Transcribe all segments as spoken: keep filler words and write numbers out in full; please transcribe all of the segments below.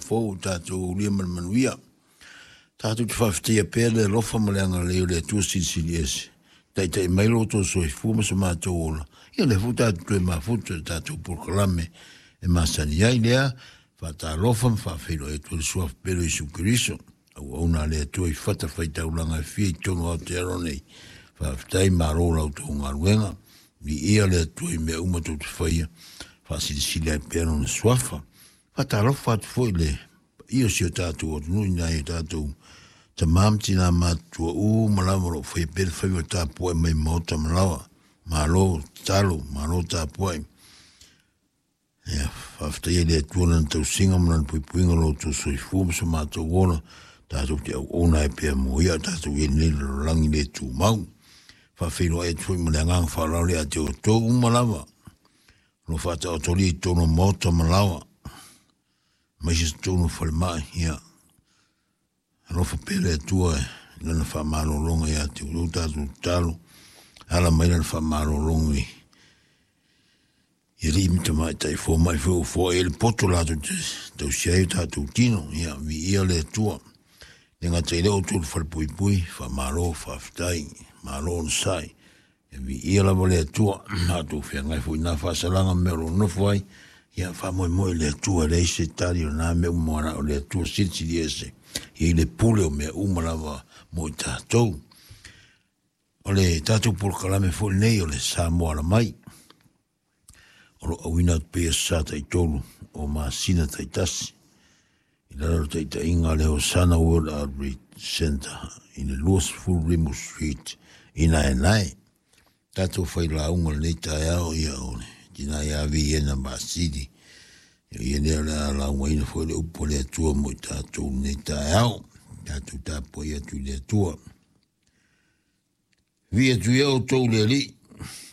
fou tatou aulia ma le manuia. Tatou te faafetaia pea le alofa ma le agalelei o le Atua Silisili Ese, taitai mai lo outou soifua ma so matou ola. Ia lea foi tatou toe mafuta i le tatou polokalame e masani ai lea, faatalofa ma faafeiloai atu i le Suafa pele o Iesu Keriso, auauna a le Atua i fatafaitaulaga e fia i totonu o Aotearoa nei. Faafetai, malo la outou galuega, viia le Atua i mea uma tou te faia, faasilisili ai pea lona suafa. Faatalofa atu foi i le paia o si o tatou atunuu i nai o tatou tamā ma tinā matutua uma lava o lo o faia pea le faiva tapuai mai maota ma laoa. Malo tatalo, malo tapuai. Ia, faafetaia le Atua lana tausiga ma lana puipuiga o lo outou soifua ma so matou ola, tatou te auauna ai pea mo ia, tatou i ai nei lalolagi le tumau. Faafeiloai atu foi ma le agaga faaaloalo ia te outou uma lava, o lo o faataotolia i totonu o maota ma laoa, aemaise totonu o falemai. Ia, alofa pea le Atua i lana faamalologa ia te outou, tatou tatalo, ala mai lana faamalologa i i alii ma tamaitai fomai foi ua foai ai le poto latou te tausia ai o tatou tino. Ia, viia le Atua. Le gata i lea outou le falepuipui, faamalo, faafetai, malo onosai. Ia viia lava le Atua, matou feagai foi i na faasalaga ma mea o lo o nofo ai. Ia faamoemoe i le Atua, e leai se tali o na mea uma na o le Atua Silisili Ese, e i ai le pule o mea uma lava mo i tatou. O le tatou polokalame foi lenei o le Samoa Alamai, o lo o auina atu pea i aso Sa taitolu o masina taitasi, i lalo o le taitaiga a le Hosana World Outreach Centre i le luasefulu Rimu Street i Naenae. Tatou failauga lenei taeao, ia o le tina ia Viena Masili, ia ia lea o le a laugaina foi le upu a le Atua mo i tatou lenei taeao. Tatou tapuai atu i le Atua. Vii atu ia outou i le Alii,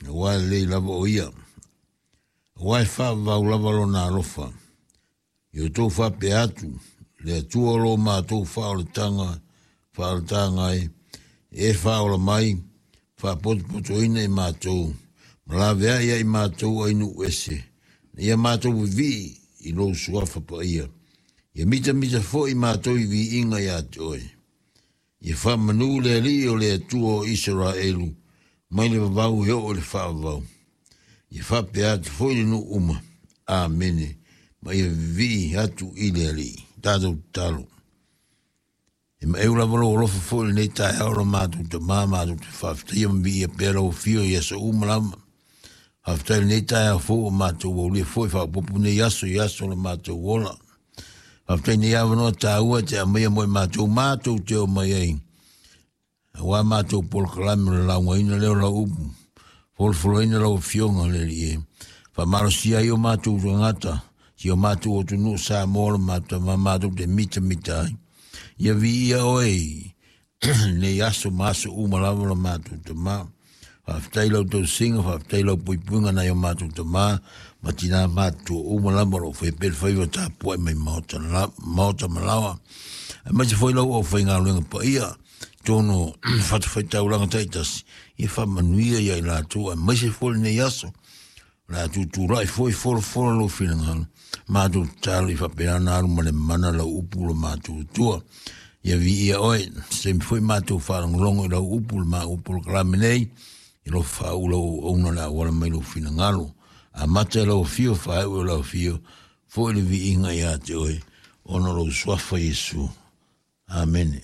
aua e lelei lava o ia, aua e faavavau lava lona alofa. Ia outou faapea atu, le Atua o lo matou faaolataga, faaolataga ai, e faaola mai, faapotopotoina i matou, ma laveai ia i matou ai nuu ese, na ia matou vivii i lou suafa paia. Ia mitamita foi matou i viiga ia te oe. Ia faamanu le Alii o le Atua o Isaraelu, mai le vavau e oo i le faavavau. Ia faapea atu foi le nuu uma. Amene. Ma ia vivii atu i le Alii. Tatou tatalo. E maeu lava lou alofa foi lenei taeao lo matou tamā, matou te faafetaia ma viia pea lau afio i aso uma lava. Faafetai lenei taeao fou o matou aulia foi faaopoopo nei aso i aso o le matou ola. Faafetai nei avanoa taua e te aumaia mo i matou, matou te o mai ai. Aua matou polokalame o le laugaina lea o lau upu, folofoloina lau afioga le Alii e. Faamalosia ai o matou tagata, si o matou atunuu Samoa o le matou tama, matou te mitamita ai. Ia viia oe nei aso ma aso uma lava o le matou tamā. Faafetai lau tausiga, faafetai lau puipuiga nai o matou tamā, ma tinā matutua uma lava o lo o faia pea le faiva tapuai mai maota, la, maota ma laoa. Aemaise foi lau aufaigaluega paia, totonu o fatafaitaulaga taitasi, ia faamanuia ia i latou, aemaise foi lenei aso. O le a tutulai foi folafola lou finagalo, matou tatalo i faapena ona alu ma le mana lau upu lo matou Atua. Ia viia oe, se taimi foi matou faalogologo i lau upu, le ma upu o le kalame nei, i lo faauu lau auauna le auala mai lou finagalo. Amata e lau afio, faaiu e lau afio, foi le viiga ia te oe, ona o lou suafa Iesu. Amene.